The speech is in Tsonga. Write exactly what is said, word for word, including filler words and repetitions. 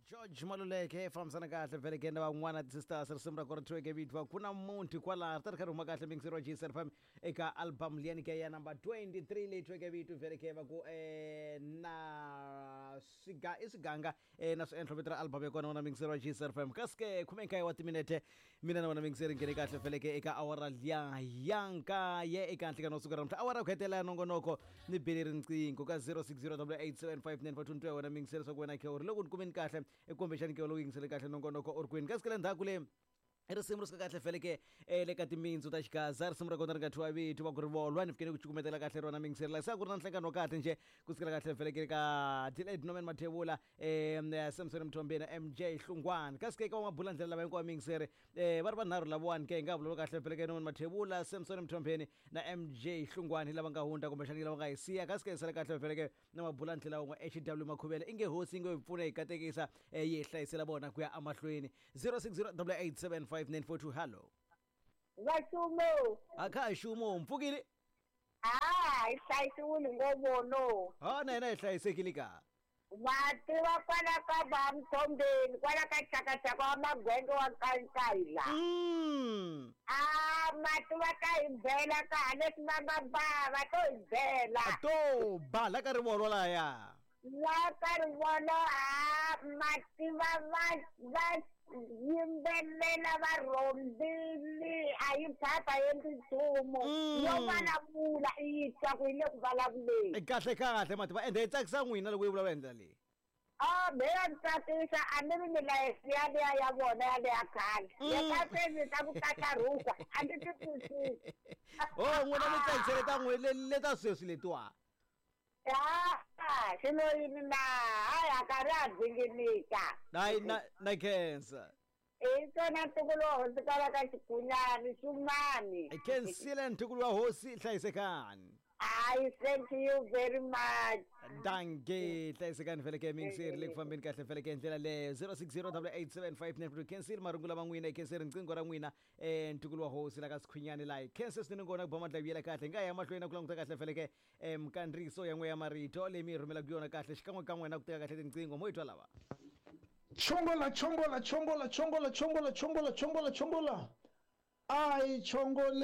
George Maluleke fambisana kahle vhele ke na van'wana ti-sisters risimu ra kona thyiweke vito va ku na munhu kwalaho ri ta ri kha ri huma kahle mixer wa G S F M eka album liyani ke ya number twenty-three leyi thyiweke vito vhele ke va ku um na swiga i swiganga um na swiendlo vito ra album ya kona wona mixer wa G S F M. Kasi ke khume nkaye wa timinete mina na wona mixer nghene kahle vhele ke eka awara liya ya nkaye eka nhlikano wa siku ra namuntlha, awara ku hetelela ya nongonoko. Ni bele riqingho ka zero six zero eight seven five nine four two wena mixer swa ku wena khe u ri loko ni kumeni kahle kumbexani ke lowu yingisele kahle nongonoko u ri kwini. Kasi ke le ndzhaku le i risimu ri suka kahle fele ke eh, le ka timintsu ta xigaza, risimu ra kona ri nga thyiwa vito va ku ri volwa. Ni fikele ku cukumetela kahle rona mingiseri la se a ku ri na nhlangano wa kahle nje ku sukela kahle fele ke ka Delayed Norman Mathebula, um Samson Mthombeni, M J Hlungwani. Kasi ke ka vamabula ndlela lava hinkwavo mingiseri um va ri vanharhu lavawani ke hi nga vulavula kahle fele ke Norman Mathebula, Samson Mthombeni na M J Hlungwani lava nga hundza kumbexani lava nga hi siya. Kasi ke hi sale kahle fele ke na mabula ndlela wun'we H W Makhuvele inge hosi inge hi pfuna hi katekisa eh, yi hi hlayisela vona ku ya amahlweni. zero six zero eight seven five nine four two, hallo. Vaxumo. A kha ha xumo mpfukile. Ha hi hlayisiwile ngopfu. Ha na hina hi hlayisekile ka. Va tiva kwala ka va Mthombeni kwala ka chakachaka wa magwenge wa nkankayila. Mm. A mati va ta hi bela ka leswi va nga ba va to hi bela. To ba la ka rivolo laya. La ka rivolo ha mati va va va yimbelela va rhombile a yi phapha endli nchumu. Mm. Yo vulavula i yi twa ku yi le ku vulavuleni. Kahle kahle mati va ende yi tsakisa n'wina loko yi vulavula hi ndlela leyi. A me ya ni tsakisa a ni ri milayeso yaliya ya vona yaliya khale ya Mm. ka sweswi ta ku tlatlarhuka a ndzi ti twisisi. O n'wina mi tsakisele ta n'we le leta sweswi letiwa. Ha xilo yini na hayi a karhi a dzinginika. Hayi na na khensa. Hi swona ntukulu wa hosi kwala ka xigunyani xumani. I khensile ntukulu wa hosi, hlayisekani. I thank you very much. Danke, hlayisekani vhele ke mingiseri le ku fambeni kahle vhele ke ndlela leyo. zero six zero eight seven five nine khensile marungu lama n'wina, khensile riqingho ra n'wina um ntukulu wa hosi la ka sikhwinyani layi khense swinene ngona ku ba mandla vuyela kahle. Hi nga ya mahlweni na ku languta kahle vhele ke um kandziyiso ya n'we ya marito leyi mi yi rhumelaka yona kahle xikan'wekan'we na ku teka kahle tinqingho mo yi twa lava. Chongola, chongola, chongola, chongola, chongola, chongola, chongola, chongola. Ai chongole.